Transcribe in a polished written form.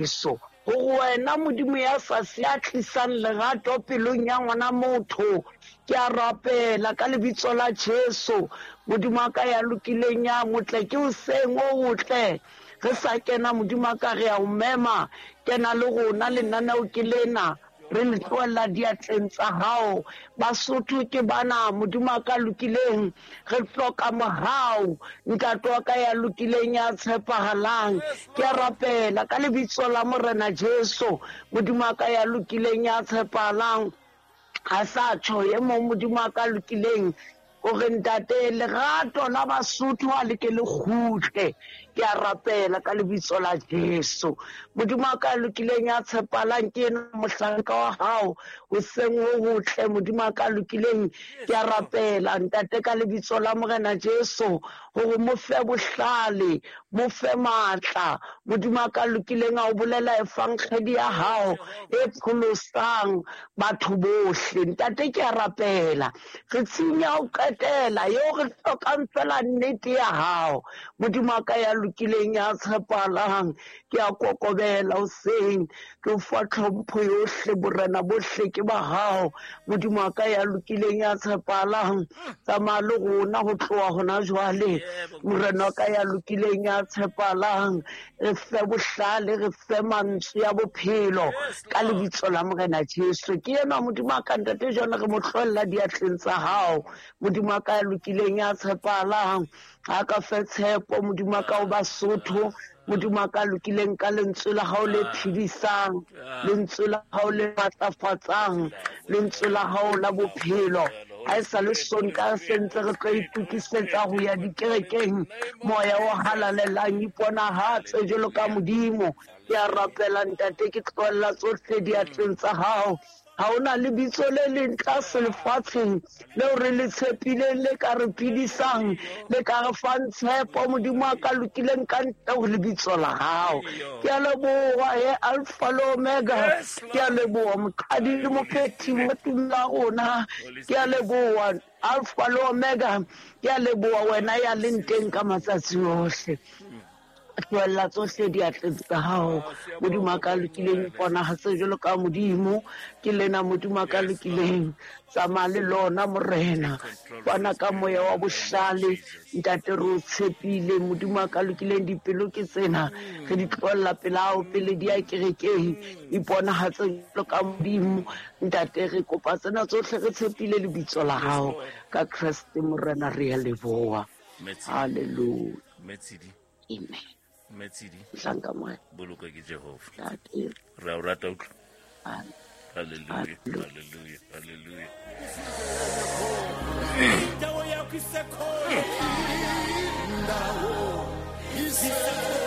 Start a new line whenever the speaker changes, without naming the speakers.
Jesu. Gore wena Modimo ya sa se ya tlisang lerato pelong ya ngwana motho, ke a rapela ka lebitso la Jesu, Modimo wa ka ya lokileng ya motle, ke hoseng o otle. Re sa kena Modimo wa ka re a o mema, kena le rona, lenaneo ke lena. Re le tlohella diatleng tsa hao. Basotho ke bana, Modimo a ka lokileng. Re hloka mohau, Ntate wa ka ya lokileng, ya tshepahalang. Ke a rapela ka lebitso la Morena Jesu, Modimo wa ka ya lokileng, ya tshepahalang. A sa tjho e mong Modimo wa ka lokileng, O re, Ntate, lerato la Basotho a le ke le kgutle. Ke a rapela ka lebitso la Jesu. Modimo wa ka lokileng ya tshepalang ke ena mohlanka wa hao hoseng ho hotle. Modimo wa ka lokileng, ke a rapela Ntate ka lebitso la Morena Jesu hore mo fe bohlale, mo fe matla. Modimo wa ka lokileng a o bolela efankgedi ya hao e pholosang batho bohle. Ntate, ke a rapela. Re tshing ya ho qetela eo re hlokang fela nnete ya hao. Modimo wa ka ya lokileng ya tshepahalang, ke a kokobela hoseng, ke o fa tlhompho yohle, borena bohle ke ba hao. Modimo wa ka ya lokileng ya tshepahalang, tsamaya le rona ho tloha hona jwale. Morena wa ka ya lokileng ya tshepahalang, re fe bohlale, re fe mantswe ya bophelo ka lebitso la Morena Jesu. Ke enwa Modimo wa ka ntate jwale re mo tlohella diatleng tsa hao. Modimo wa ka ya lokileng ya tshepahalang, a ka fe tshepo Modimo wa ka o Basotho. Modimo wa ka lokileng ka lentswe la hao le phedisang, lentswe la hao le matlafatsang, lentswe la hao la bophelo. Ha e sa le Sontaha se ntse re tlo itokisetsa ho ya dikerekeng, moya o halalelang iponahatse jwalo ka Modimo. Ke a rapela Ntate, ke tlohella tsohle diatleng tsa hao. Ha ho na lebitso le leng tlase lefatsheng leo re le tshepileng le ka re phedisang, le ka re fang tshepo, Modimo a ka lokileng ka ntle ho lebitso la hao. Ke a leboha he Alpha le Omega, ke a leboha moqadi le mophethi wa tumelo ya rona, ke a leboha Alpha le Omega, ke a leboha wena ya leng teng ka matsatsi ohle. Tlohella tsohle diatleng tsa hao, Modimo a ka lokileng, iponahatse jwalo ka Modimo. Ke lena Modimo a ka lokileng, tsamaya le lona Morena, fana ka moya wa bohlale. Ntate, re o tshepile Modimo a ka lokileng, dipelo ke tsena re di tlohella pela hao pele di ya kerekeng. Iponahatse jwalo ka Modimo. Ntate, re kopa tsena tsohle re tshepile lebitso la hao ka Kreste Morena, re a leboha. Hallelujah.
Metsidi.
Amen.
Metsidi.
Mohlanka Morena.
Bolokwe ke Jehova. Ntate. Re a o rata utlwa.
Amen.
Hallelujah. Hallelujah. Hallelujah.
Indawo yakho isekhona. Indawo isekhona.